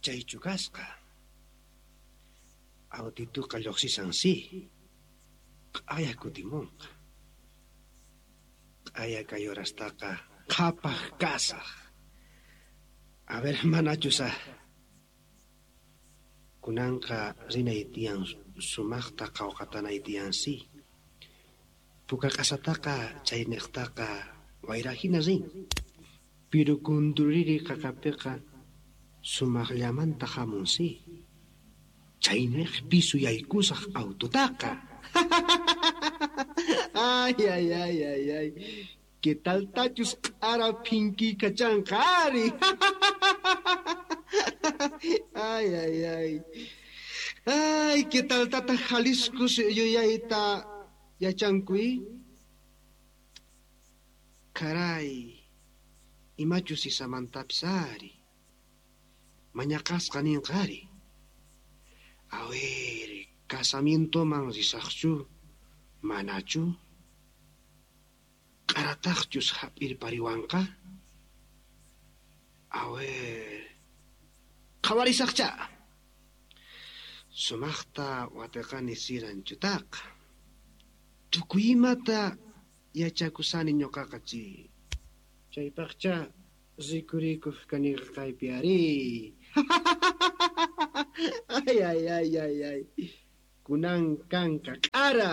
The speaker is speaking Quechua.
Chaychu kasqa. Autituqa lluqsisan si. Q'aya kutimunqa. Q'aya kay horastaqa qhapaq kasaq. A ver, manachus a. Kunanqa rinay tiyan sumaqta qawqatanay tiyan si. Puka q'asataqa chayniqtaqa wayra hina rin. Piru kunduriri qaqapiqa sumaqllamanta hamun si. Chayniqpi suyaykusaq autotaqa. Ay, ay, ay, ay, ay. ¿Qué tal tachus q'ara phinkikachanqa ari? Ay, ay, ay. Ay, ¿qué tal tata Jalisco yuyayta yachankuy? Caray, imachus isamantapis ari. Mañaqasqa ninqa ari. A ver, casamientoman risaqchu, manachu? Q'arataqchus hap'irpariwanqa? A ver, qhawarisaqcha. Sumaqta watiqani siranchutaqa. Tukuy imata yachakusani ñuqaqa chi. Chaypaqcha rikurikuq kaniqa kaypi ari. Ay, ay, ay, ay, ay. Kunan kanka q'ara.